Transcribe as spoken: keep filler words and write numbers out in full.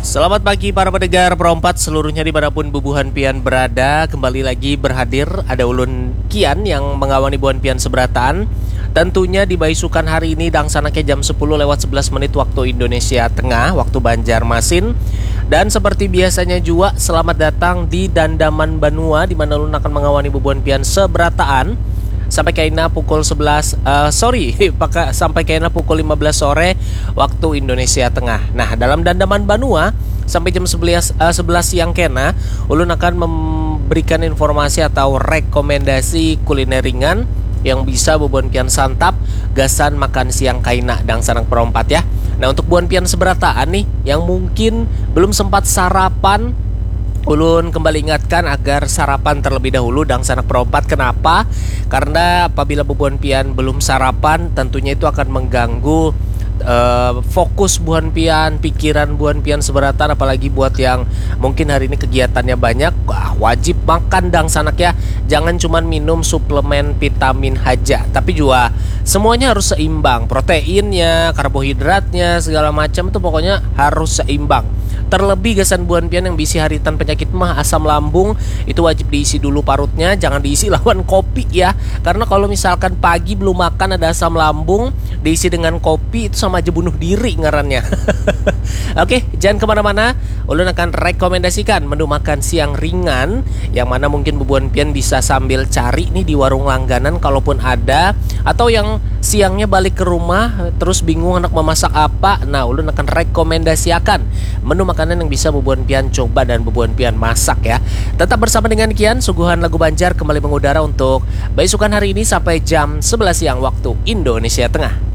Selamat pagi para pendengar Perompat seluruhnya dimanapun bubuhan pian berada. Kembali lagi berhadir ada ulun Kian yang mengawani buhan pian seberataan. Tentunya di baisukan hari ini dangsanaknya jam sepuluh lewat sebelas menit waktu Indonesia Tengah, waktu Banjarmasin. Dan seperti biasanya juga, selamat datang di Dandaman Banua, di mana ulun akan mengawani bubuhan pian seberataan sampai kaina pukul sebelas, eh, sorry, paka-, sampai kaina pukul lima belas sore waktu Indonesia Tengah. Nah, dalam Dandaman Banua sampai jam sebelas, eh, sebelas siang kena, ulun akan memberikan informasi atau rekomendasi kuliner ringan yang bisa bubuhan pian santap gasan makan siang kaina dangsanak Perompat ya. Nah, untuk bubuhan pian seberataan nih yang mungkin belum sempat sarapan, ulun kembali ingatkan agar sarapan terlebih dahulu dangsanak Perompat. Kenapa? Karena apabila bubuhan pian belum sarapan, tentunya itu akan mengganggu, eh, fokus bubuhan pian, pikiran bubuhan pian seberataan, apalagi buat yang mungkin hari ini kegiatannya banyak, wah, wajib makan dangsanak ya. Jangan cuman minum suplemen vitamin haja, tapi juga semuanya harus seimbang, proteinnya, karbohidratnya, segala macam tuh pokoknya harus seimbang. Terlebih gasan bubuhan pian yang bisi haritan penyakit mah, asam lambung, itu wajib diisi dulu parutnya, jangan diisi lawan kopi ya. Karena kalau misalkan pagi belum makan ada asam lambung, diisi dengan kopi, itu sama aja bunuh diri ngarannya. Oke, jangan kemana-mana. Ulun akan rekomendasikan menu makan siang ringan yang mana mungkin bubuhan pian bisa sambil cari nih di warung langganan kalaupun ada, atau yang siangnya balik ke rumah terus bingung anak memasak apa. Nah, ulun akan rekomendasiakan menu makanan yang bisa bubuhan pian coba dan bubuhan pian masak ya. Tetap bersama dengan Kian, suguhan lagu Banjar kembali mengudara untuk baisukan hari ini sampai jam sebelas siang waktu Indonesia Tengah.